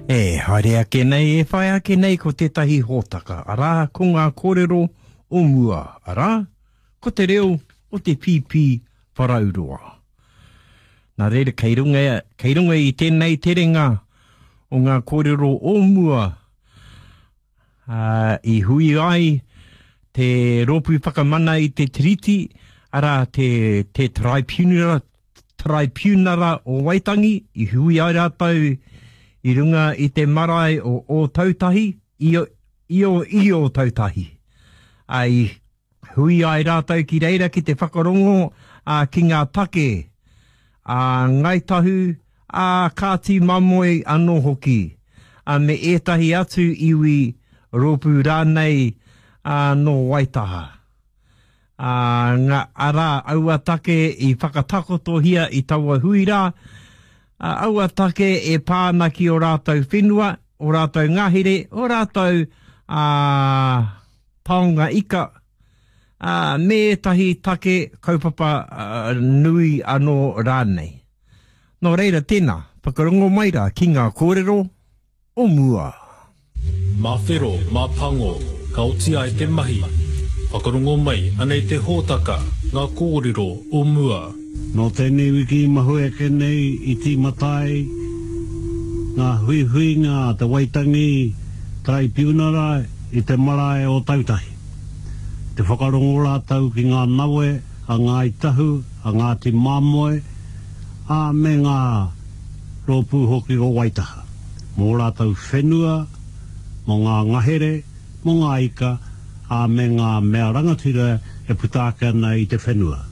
E haere ake nei, e whai ake nei ko tētahi hōtaka, arā, ko ngā kōrero o mua, arā, ko te reo o te pīpī wharauroa. Nā reira, kei runga, kei runga i tēnei terenga o ngā kōrero o mua, ā, i hui ai te Rōpū Whakamana i te Tiriti, arā, te, te Taraipiunara, Taraipiunara o Waitangi, i hui ai rātou i runga i te marae o Ōtautahi, i, i, i Ōtautahi. Ā, i Hui ai rātou ki reira ki te whakarongo ki ngā take a Ngāi Tahu, a Kāti Mamoe anō hoki, me ētahi atu iwi, rōpū rānei nō Waitaha. Arā, aua take i whakatakotohia i taua hui rā, aua take e pā ana ki ō rātou whenua, ō rātou ngahere, ō rātou taonga ika, ā, me ētahi take kaupapa nui anō rānei. Nō reira, tēnā, whakarongo mai rā ki ngā kōrero o mua. Mā whero, mā pango, ka oti ai te mahi. Whakarongo mai, anei te hōtaka, ngā kōrero o mua. Nō tēnei wiki i mahue ake nei i tīmata ai ngā huihuinga a te Waitangi Taraipiunara i te marae o Tautahi. Te whakarongo rātou ki ngā nawe a Ngāi Tahu, a Ngāti Māmoe, ā, me ngā rōpū hoki o Waitaha, mō rātou whenua, mō ngā ngahere, mō ngā ika, ā, me ngā mea rangatira e puta ake ana i te whenua.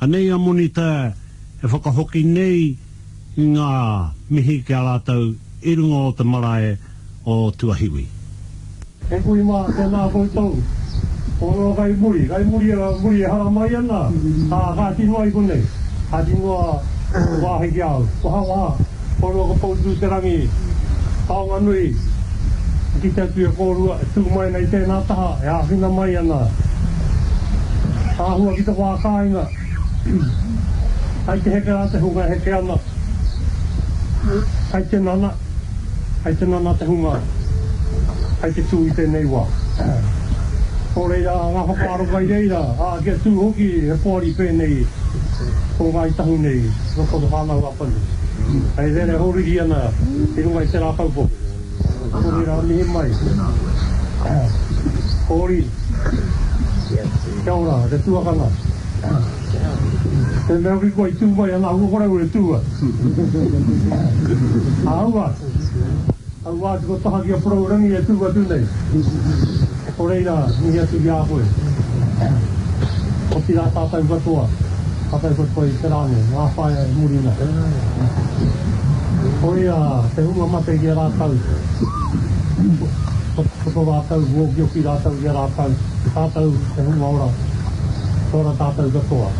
Anei a Monita e whakahoki nei i ngā mihi ki a rātou i runga o te marae o Tuahiwi. E kui mā, tēnā koutou. Kōrero kai muri, kai muri, muri e haramai ana, ā, kāti noa i konei, kāti noa te wāhi ki a au. Wahawaha, kōrua ko Poutū-te-rangi, taonga nui, i kite atu i a kōrua e tū mai ana i tēnā taha, e āwhina mai ana. Āhua ki te wā kāinga, kai te heke rā te hunga e heke ana, kai te nana. Hei te nana te hunga hei te tū i tēnei wā. Nō reira, ngā whakaaro kai reira, ā, kia tū hoki he poari pēnei ko Ngāi Tahu nei, roto o Te Whānau-a-Apanui. Hei rere hōriri ana i runga i te rākau poke. Nō reira, mihi mai. Hōri. Kia ora, te tuakana. Te mea hoki kua i tū mai ana aua korau e tū ai. Aua, aua atu ko taha ki a Porourangi e tū atu nei. Ko reira, mihi atu ki a koe. Otirā tātou katoa, tātou katoa i te rā nei, ngā whaea e muri nei. Koia te hunga mate ki a rātou, ko tō rātou mōkioki rātou ki a rātou, tātou te hunga ora. Ora tātou katoa.